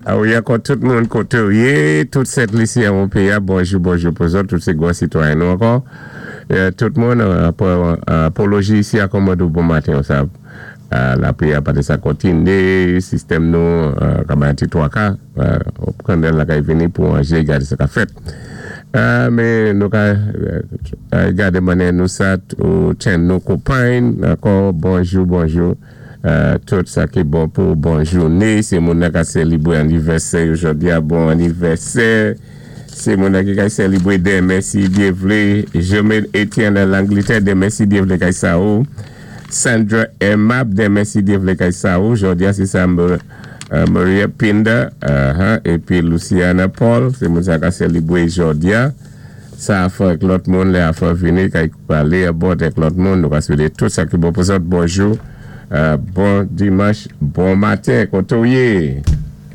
Wi, ankò tout moun koté ou yé, tout Sent Lisi an péyi, bonjou, bonjou pou zòt, tout sé gwan sitwayen nou ankò. Tout moun, apoloji isi a kòmandé bon maten, sa lapwi a pati sa kontiné, sistèm nou, ka bay ti twaka, kandèl la kay vini pou anjé gadé sa ka fèt. Men nou ka gadé mannyè nou sat ou tchenn nou kopayn, ankò bonjou, bonjou. Tout sa ki bon pou bon jouné, sé moun nan ka sélibwé anivèsè yo jòdi a, bon anivèsè. Sé moun nan ki kay sélibwé denmen si Dye vlé, Jomel Etienne nan Langlitè, denmen si Dye vlé kay sa ou. Sandra Emab, denmen si Dye vlé kay sa ou. Jòdi a sé sa Maria Pinda épi Luciana Paul, sé moun sa ka sélibwé jòdi a. Sa a fò ak lòt moun, lè a fò vini kay palé abòd ak lòt moun, nou ka swété tout sa ki bon pou zòt. Bonjou, bon dimanch, bon maten, koté ou yé?